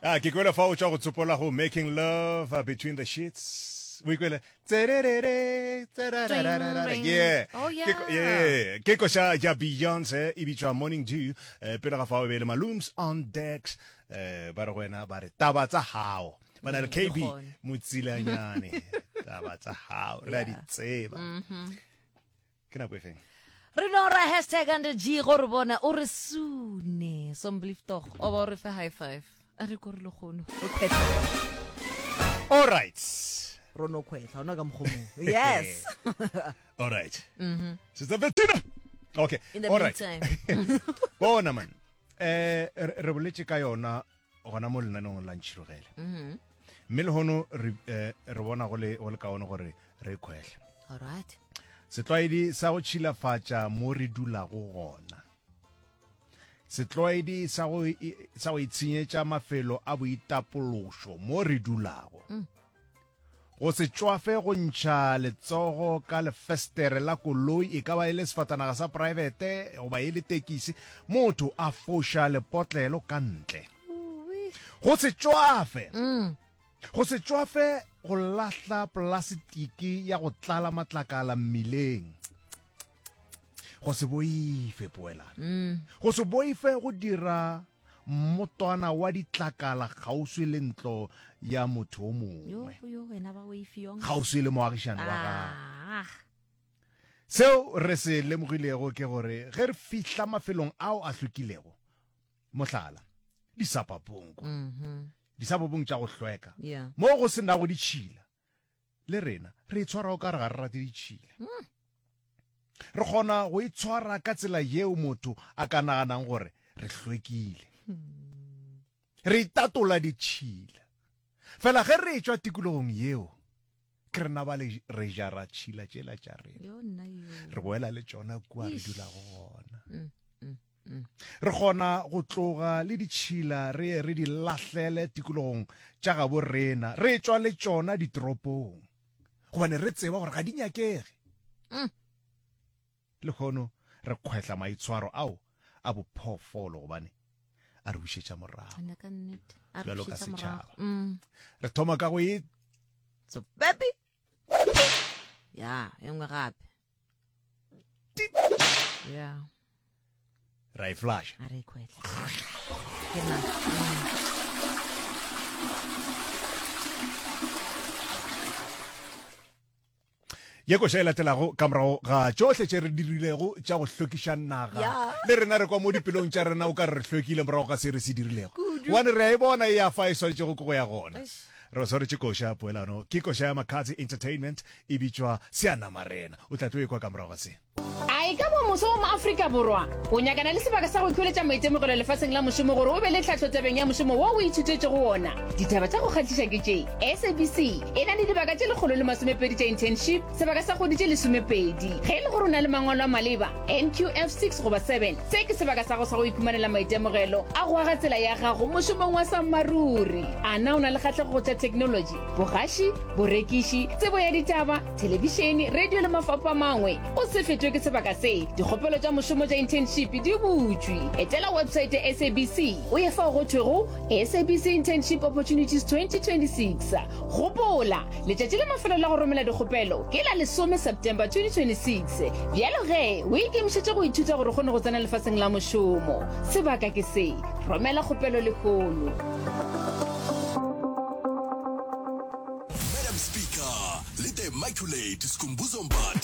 Ah, ke kwele fa o tšwa go tsopola go making love uh, between the sheets. O ikwele tsererere tserererere. Yeah. Oh, yeah. Ke ko- yeah. Ke koša ya Beyonce e bitšwa Morning Dew. Eh, pele ga fao e be e le Malooms on Decks. Eh, ba re go wena ba re taba tsa hao. Ba na le KB gone. motsilanyane. Taba tsa hao. Re a di Yeah. tseba. Ke nako e feng? Re no ra hashtag under G go re bona o re sune sombliftog o ba o re fe high five a re ko re le kgono re kgwetlha All right. ro no kgwetlha ona ka mokgomong yes All right. Sister Bettina. Okay. In the All right. meantime. Bona man. Eh re re boletše ka yona gona mo lenaneong la Ntšhirogele. Mme lehono re eh, re bona go le go le kaone gore re kgwehle. All right. Setlwaedi sa go tšhilafatša mo re dulago gona. Setlwaedi sa go sa go itshenyetša mafelo a boitapološo mo re dulago. Go se tšwafe go ntšha letsogo ka lefestere la koloi, e ka ba e le sefatanaga sa praebete goba e le tekisi, motho a foša lepotlelo ka ntle. Go se tšwafe Go se tšwafe go lahla polasitiki ya go tlala matlakala mmileng. Go se boife poelano. Mm. Go se boife go dira mmotwana wa ditlakala kgauswi le ntlo ya motho o mongwe. Kgauswi le moagišani wa gagwe. Ah. Seo re se lemogilego ke gore ge re fihla mafelong ao a hlwekilego, mohlala, disapapong kwa, mm -hmm. Disabobong tša go hlweka, Yeah. mo go se nago ditšhila. Le rena re itshwara o ka re ga re rate ditšhila. Re kgona go itshwara ka tsela yeo motho a ka naganang gore re hlwekile. Re itatola ditšhila. Fela ge re etšwa tikologong yeo, ke rena ba le re jara tšhila tšela tša rena. Yo nna yo. Re boela le tšona kua re dulago gona. Mm, mm. Re kgona go tloga le ditšhila re ye re di lahlele tikologong tša gabo rena, re etšwa le tšona ditoropong, gobane re tseba gore ga di nyakege. Mm. Lehono re kgwehla maitshwaro ao a bophoofolo gobane a re bušetša morago Nna ka nnete. A re bjalo ka bušetša morago. setšhaba. Mm. Re thoma ka go e So baby. Ya, e nngwe gape. Ya. Ra e flasha. A re khwetla. Ke na. Mm. Ye koša e latelago ka morago ga tšohle tše re dirilego tša go hlwekiša naga. Le rena re kwa mo dipelong tša rena o ka re re hlwekile morago ga se re se dirilego. Gobane re a e bona e ya fa e swanetšego ke go ya gona. Re swaretše koša poelano. Ke koša ya Makatse Entertainment e bitšwa Seanamarena. O tla tlo e kwa ka morago ga se. A e ka ba moso wa Moafrika Borwa o nyakana le sebaka sa go ikhweletša maitemogelo lefaseng la mošomo gore o be le tlhahlo tabeng ya mošomo wo o ithutetšego wona? Ditaba tša go kgahliša ke tše, SABC e na le dibaka tše 120 tša internship, sebaka sa kgwedi tše lesomepedi. Ge e le gore o na le mangwalo a maleba, NQF 6 goba 7, se ke sebaka sa go sa go ikhumanela maitemogelo a go aga tsela ya gago mošomong wa sammaruri. A na o na le kgahlego go tša theknolotši, bogaši, borekiši, tsebo ya ditaba, thelebišene, radio le mafapho a mangwe? O se fetwe ke sebaka se. Dikgopelo tša mošomo tša internship di butšwe. Etela websaete ya SABC o ye fao go thwego SABC Internship Opportunities 2026. Gopola, letšatši la mafelelo la go romela dikgopelo ke la lesome September 2026. Bjalo ge, o ikemišetše go ithuta gore o kgone go tsena lefaseng la mošomo. Sebaka ke se. Romela kgopelo lehono. Madam Speaker le The Immaculate Skhumbuzo Mbatha.